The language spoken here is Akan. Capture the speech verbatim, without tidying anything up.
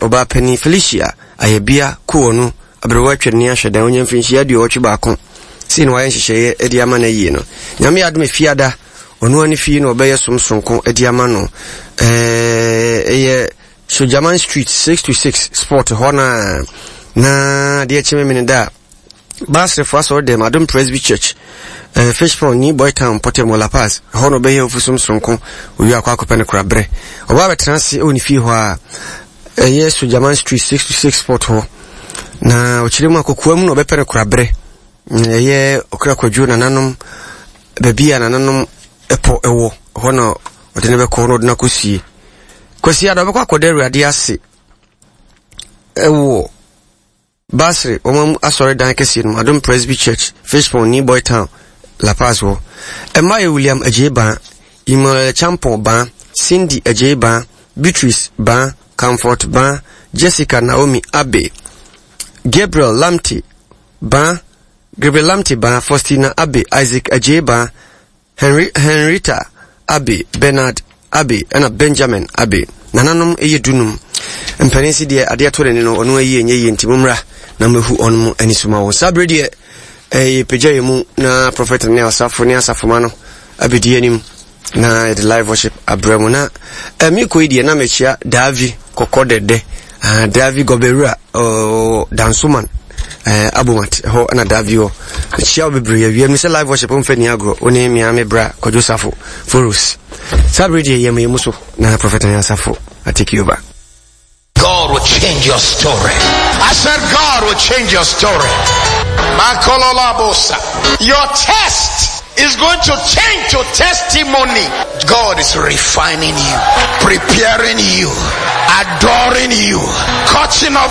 Ɔbaa panin Felicia Ayɛbea Kowonu aberewa atwa ni ahwɛ dan onya mfirinhyia aduɔwɔtwe baako. Sei na wayɛ nhyehyɛeɛ de ama no ayie no. Nyame adom, Efiada ɔno ani fie na ɔbɛyɛ som sonko de ama no. Ɛyɛ Sojaman Street six to six spot hɔ na na adeɛ kyeme mene da a Baasrefo asɔre dɛm Adom Presby Church, uh, Fish Pond, New Boy Town Pɔtɛm, La Paz hɔ na ɔbɛyɛ ofusom sonko. Owie akɔ akɔpɛ no kora berɛ ɔbaa bɛtena ase ɛwɔ ne fie hɔ a ɛyɛ Sojaman Street six to six spot hɔ na ɔkyerɛ mu akɔkoa mu na ɔbɛpɛ no kora berɛ. Ɛyɛ Ɔkra Kwadwo nananom baabi a nananom ɛpɔ ɛwɔ hɔ na ɔde no bɛkɔ na ɔde no akɔsie. Kwasi ada ɔbɛkɔ akɔda Awurade ase ɛwɔ Basre wɔn asɔredan kɛseɛ no mu, Adom Presby Church, Fishpond, New Boy Town, La Paz hɔ. Ɛmma yɛ William Agyei Ban, Emmanuel Champon Ban, Cindy Agyei Ban, Beatrice Ban, Comfort Ban, Jessica Naomi Abe, Gabriel Lamte Ban, Gabriel Lamte Ban, Faustina Abe, Isaac Agyei Ban, Henry, Henrietta Abe, Bernard Abe ɛna Benjamin Abe. Nananom ɛyɛ dunum. Mpanin si deɛ adeɛ to n'ani no ɔno ayi ɛnyɛ yie, nti mommra na mɛhu ɔno mu ani so ma wɔn. Saa berɛ deɛ ɛyɛ pagya yɛ mu na prophet ne asafo ne asafoma no abɛdi anim na yɛde live worship abrɛ mu. Na ɛmi kɔ yi deɛ na mekyia Daavi kɔkɔ dɛdɛ, ah, Daavi Gɔbɛwura uh, Dansoman uh, Abomat hɔ ɛna Daavi hɔ. Mekyia wo bebree. Awia mi sɛ live worship mfa ni agorɔ, wo ne mmea me bra Kwadwo Safo Foros. Saa berɛ deɛ yɛma yɛ mu so na prophet ne asafo atake over. God will change your story. I said God will change your story. Makololabosa. Your test is going to change to testimony. God is refining you, preparing you, adoring you, cutting off